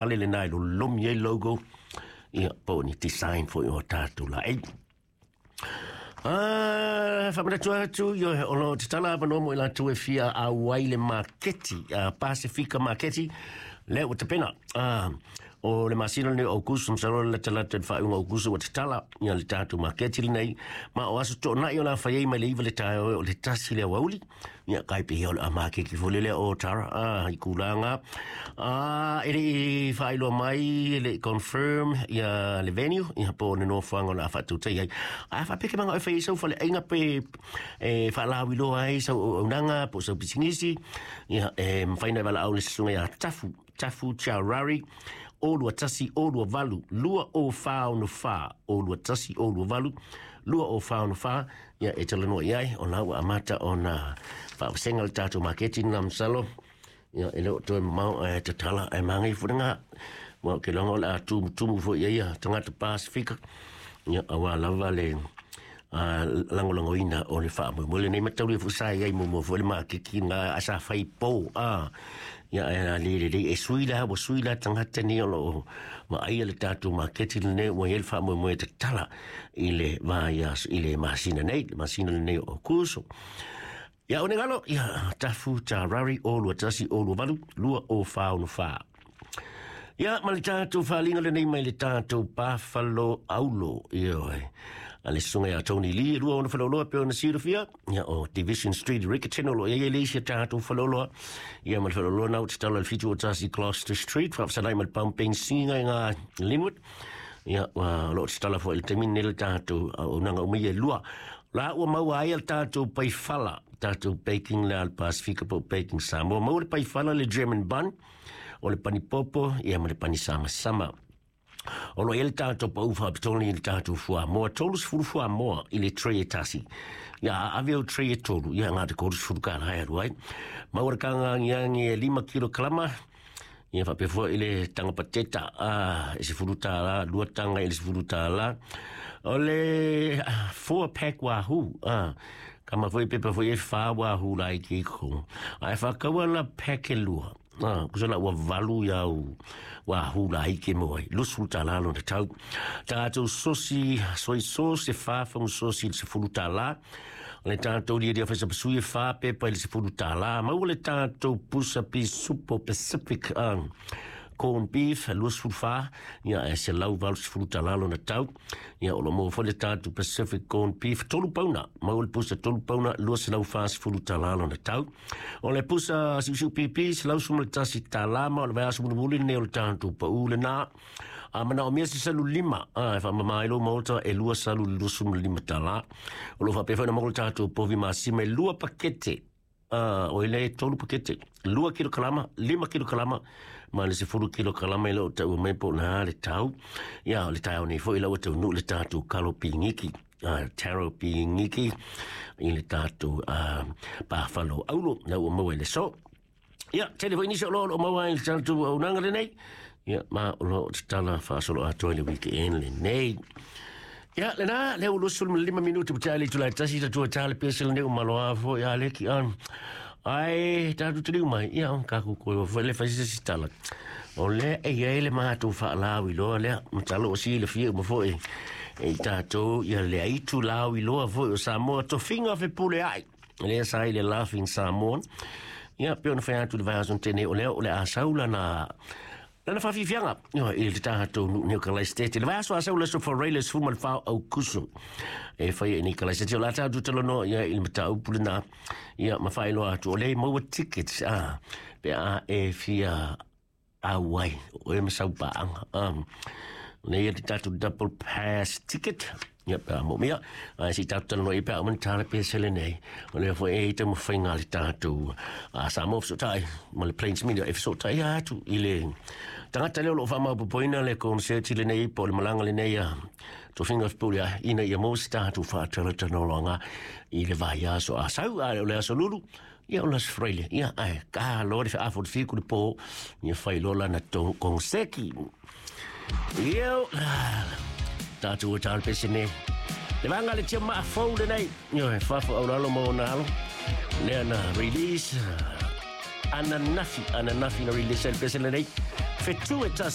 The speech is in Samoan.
Ale lena e lolomi ai logo, ia, po o ni design foi o tatou laei. Faamanatu atu, ia, o lo o tatala avanoa mo i latou e fia auai le maketi, Pasifika Maketi, lea ua tapena. O le masina lenei o Aukuso, masalo le latalata i le faaiuga o Aukuso ua tatala ia le tatou maketi lenei, ma o aso toonai o le a fai ai mai le 9 le taeao e oo i le 1 le aoauli. Ia, kai pei o le a maketi foi lele o Tara, i tulaga, e le i faailoa mai, e le i confirm ia le venue, ia po o le nofoaga o le a faatautai ai. Ae faapea ke manao e fai ai sau faleaiga pe e faalauiloa ai sau auaunaga po o sau pisinisi, ia, e mafai ona e valaau i le susuga ia Tafu, Tafu Charari, o 21 o 28 2044, o 21 o 28 2044, ia e talanoa i ai, o la ua amata ona faavasega le tatou maketi lena masalo. Ia, e le o toe mamao ae tatala ae manaia foi lena. Aua ou te iloa o le a tumutumu foi i ai ia tagata Pasifika, ia, aua lava le lagolagoina o le faamoemoe lenei. Mataulia foi sa i ai muamua foi le maketi lena ae sa fai po, ia, ae a le lelei e sui la, ua sui la tagata nei o lo o vaaia le tatou maketi lenei, ua i ai le faamoemoe e tatala i le vaiaso, i le masina nei, le masina lenei o Aukuso. Ia, o ne galo, ia, Tafu Tarari, o 21 o 28 2044. Ia, ma le tatou faaaliga lenei mai le tatou Buffalo Aulo, ioe, a le susuga ia Tony Lee, e lua ona faleoloa pei ona silafia, ia, o Division Street, Riccarton, o lo o i ai le isi a tatou faleoloa, ia, ma le faleoloa na o tatala i le 71 Gloucester Street, faafesalai ma le pamu penisina i ngā Linwood. Ia, ua o lo o tatala foi i le taimi lenei le tatou auaunaga uma ia e lua. La ua maua ai le tatou paifala, tatou baking le a le Pasifika po o Baking Samoa. Maua le paifala, le German bun, o le pani popo, ia, ma le pani samasama. O lo o i ai le tatou pau faapitoa i le tatou fuamoa, 30 fuamoa i le tray e tasi. Ia, a ave au tray e tolu, ia, na o le 30 kālā e alu ai. Maua le taga agiagi e 5 kilokalama, ia, faapea foi i le taga pateta, e 10 tālā, lua taga i le 10 tālā. O le four pack wahoo, kama foi pepa foi e whā wahoo la i ke ko. Ae whakaua la pack e lua. Kusa la ua valu iau wahoo la i ke mo ai. 20 tālā lona tau. Tātou sosi, soy sauce e whā whangu sosi i le 10 tālā. O le tātou lia whaisapasui e whā pepa i le 10 tālā. Maua le tātou pusa pisupo Pacific corned beef, 24, ia, e 180 tālā lona tau. Ia, o lo maua foi le tātou Pacific corned beef, 3 pauna. Maua le pusa 3 pauna, 240 tālā lona tau. O le pusa siusiu pipi, 111 tālā, ma o le vaiaso mulimuli lenei o le tātou pau lena. A manaomia se salu lima, e faamama ai lou maota, e lua salu i le 25 tālā. O lo o faapea foi ona maua le tātou povi masima e lua pakete. O le tolu pakete, 2 kilokalama, 5 kilokalama, ma le 10 kilokalama e le o taua mai po o le a le tau. Ia, o le taeao nei foi la ua taunuu le tātou kalo pigiki, taro pigiki i le tātou Buffalo Aulo, la ua maua i le aso. Ia, tele foi nisi o lo o maua ai le tatou auaunaga lenei. Ia, ma o lo o tatala faasoloatoa i le weekend lenei. Ia, lena, lea ua 25 minute ua tae le itula e tasi, tatou e tā le pese lenei ua maloa foi a leki an. Ae, tatou taliu mai, ia, kakou koe foi le fai se si tala. O lea e i ai le matou faalauiloa lea, masalo ua silafia uma foi e i tatou ia le aitu lauiloa foi o Samoa, tofiga fepuleai. Lea sa i le Laughing Samoan. Ia, pei ona fai atu i le vaiaso na tea nei, o lea o le a sau lana lana faafiafiaga ia, i le tatou nuu nei o Kalaisitete. Le vaiaso a sau le aso Faraile 14 o Aukuso e fai ai nei Kalaisitete. O le a tatou talanoa ia i le mataupu lena, ia, ma faailoa atu o lea e maua tickets, pe a e fia auai o e ma sau paaga. Nei e te tatou double pass ticket. Ia, pe a mōmia. Ae se i tatou talanoa i pe a uma ni tāle pesele nei. O lea foi e i taumafaiga a le tatou Samoa Fesootai ma le Plains Media e fesootai atu i le tagata lea o lo o faamaopoopoina le konserti lenei po o le malaga lenei a Tofiga Fepuleai ina ia maua se tatou faatalatalanoaga i le vaiaso a sau, a o le aso lulu. Ia, o le Aso Faraile, ia, ae ka loa le feafo le fiku le po, ia fai loa lana konseki. Ia, tātou o tāle pese nei. Le vanga le tia maa fou lenei. Ia, e fafo au lalo ma ona alo. Lea na release. Ananafi, ananafi na release le pese lenei. Fetu e tasi.